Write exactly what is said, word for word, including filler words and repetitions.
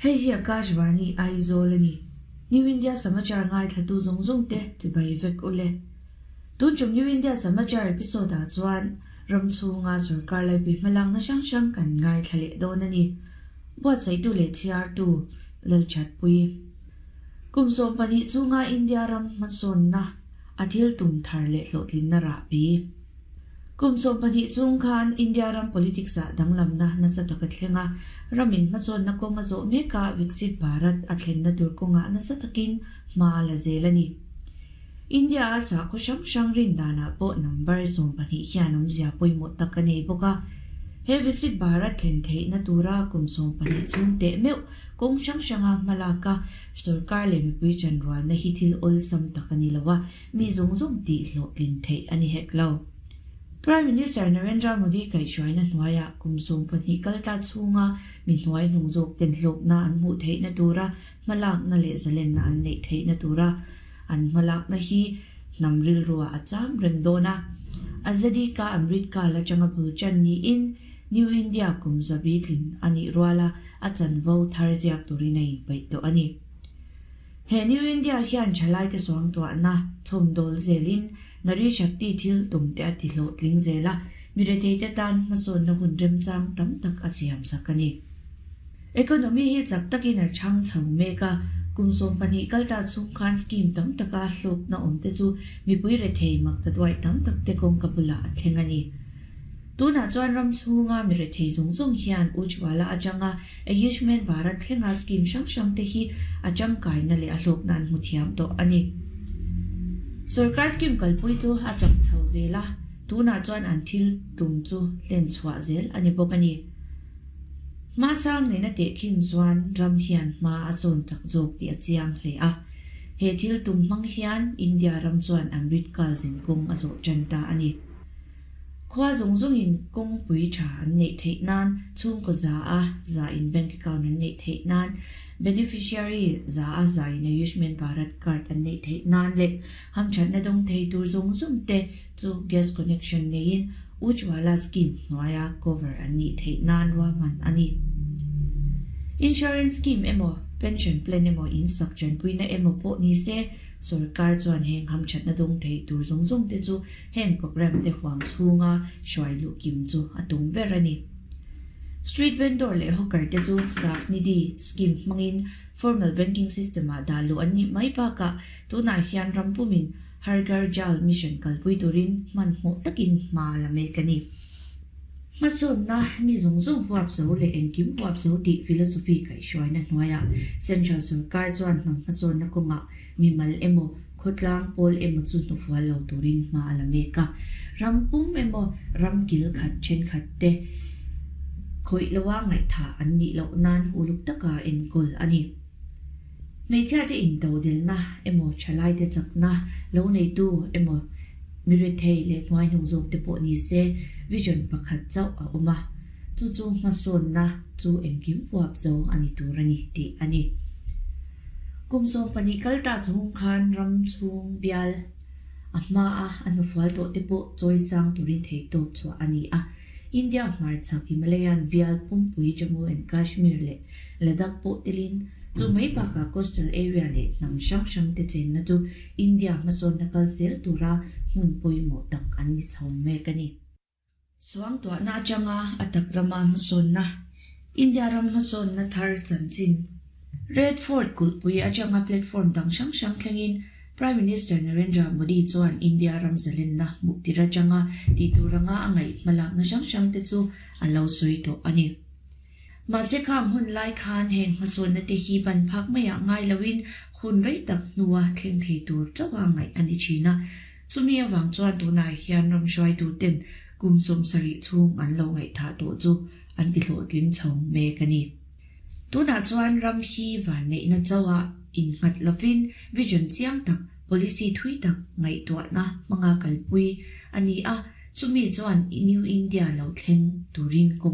Hei hi Akashvani Aizawl a ni. New India Samachar ngaithlatu zawng zawng te chibai vek ule. Tun tum New India Samachar episode ah chuan ram chhunga sorkar laipui hmalakna hrang hrang kan ngaithla leh dawn a ni. Buatsaihtu leh chhiartu Lalchatpui. Kum sawm pahnih chhunga India ram hmasawnna a thil tum thar leh hlawhtlinna rahbi. Kum sawm pahnih chhung khan India ram politics ah danglamna nasa tak a thleng a, ramin hmasawnna kawng a zawh mek a, Viksit Bharat a thlenna tur kawngah nasa takin hma a la zel a ni. India a sakhaw hrang hrang rin danah pawh number sawm pahnih hian awmzia pawimawh tak a nei bawk a. He Viksit Bharat thlen theihna tura kum sawm pahnih chhung teh meuh kawng hrang hranga hma lak a, sorkar leh mipui chanrualna hi thil awlsam tak a ni lo a, mi zawng zawng tih hlawhtlin theih a ni hek lo. Prime Minister Narendra Modi kaihhruaina hnuaiah kum sawm pahnih kal ta chhunga mi hnuai hnung zawk ten hlawkna an hmuh theihna tura hmalakna leh zalenna an neih theihna tura an hmalakna hi hnam rilruah a cham reng dawn a. Azadi Ka Amrit Kaal atanga bul chan niin New India kum zabi tlin a nih ruala a chanvo thar ziak turin a inpeih tawh a ni. He New India hian thalaite suangtuahna chhawmdawl zelin Nari Shakti thil tumte a ti hlawhtling zel a, mi retheite tan hmasawnna hun remchang tam tak a siam sak a ni. Economy hi chak takin a chhang chho mek a, kum sawm pahnih kal ta chhung khan scheme tam taka hlawkna awmte chu mipui rethei mak ta duai tam takte kawngka bulah a thleng a ni. Tunah chuan ram chhunga mi rethei zawng zawng hian Ujjwala atanga Ayushman Bharat thlenga scheme hrang hrang te hi a tangkaina leh a hlawkna an hmu thiam tawh a ni. Sorkar scheme kalpui chu a chak chho zel a, tunah chuan an thil tum chu hlen chhuah zel a ni bawk a ni. Hma sang nena tehkhin chuan ram hian hma a sawn chak zawk tih a chiang hle a. He thil tum hmang hian India ram chuan Amrit Kaal zinkawng a zawh tan ta a ni. Khua zawng zawngin kawngpui tha an neih theih nan, chhungkaw za a za in bank account an neih theih nan, beneficiary za a za in Ayushman Bharat card an neih theih nan leh hamthatna dawng thei tur zawng zawng te chu gas connection neiin Ujjwala scheme hnuaia cover an nih theih nan ruahman a ni. Insurance scheme emaw, pension plan emaw, in sak chanpuina emaw pawh ni se, sorkar chuan heng hamthatna dawng thei tur zawng zawng te chu heng program te huam chhunga hruai luh kim chu a tum ber a ni. Street vendor leh hawker te chu Saaf Nidhi scheme hmangin formal banking system ah dah luh an nih mai bakah tunah hian ram pumin Har Ghar Jal Mission kalpui turin hmanhmawh takin hma la mek a ni. Hmasawnna mi zawng zawng huap zo leh engkim huap zo tih philosophy kaihhruaina hnuaiah Central sorkar chuan hnam hmasawnna kawngah mimal emaw khawtlang pawl emaw chu hnufual lo turin hma a la mek a. Ram pum emaw ram kil khat thenkhat te khawih loa ngaihtha an nih loh nan uluk taka enkawl a ni. Hmeichhia te intodelna emaw thalai te chakna lo neitu emaw mi rethei leh hnuai hnung zawk te pawh ni se vision pakhat chauh a awm a, chu chu hmasawnna chu engkim huap zo a ni tur a ni tih a ni. Kum sawm pahnih kal ta chhung khan ram chhung bial a hma a a hnufual tawh te pawh chawi sang turin theihtawp chhuah a ni a. India hmarchhak Himalayan bial pumpui Jammu and Kashmir leh Ladakh pawh telin chu mai bakah coastal area leh hnam hrang hrang te chenna chu India hmasawnna kal zel tura hmun pawimawh tak an ni chho mek a ni. Suangtuahna atanga a tak rama hmasawnna, India ram hmasawnna thar chanchin. Red Fort kulhpui atanga platform dang hrang hrang thlengin Prime Minister Narendra Modi chuan India ram zalenna hmuh tir atanga tih turanga a ngaih hmalakna hrang hrang te chu a lo sawi tawh a ni. Mahse khang hun lai khan heng hmasawnna te hi ban phak maiah ngai loin hun rei tak hnua thleng thei tur chauha ngaih a ni thin a. Chumi awang chuan tunah hian ram hruaitu ten kum sawm sarih chhung an lo ngaihthah tawh chu an ti hlawhtling chho mek a ni. Tunah chuan ram hi van neihna chauha innghat lovin vision chiang tak policy thui tak ngaihtuahna hmanga kalpui a ni a, chumi chuan New India lo thleng turin kawng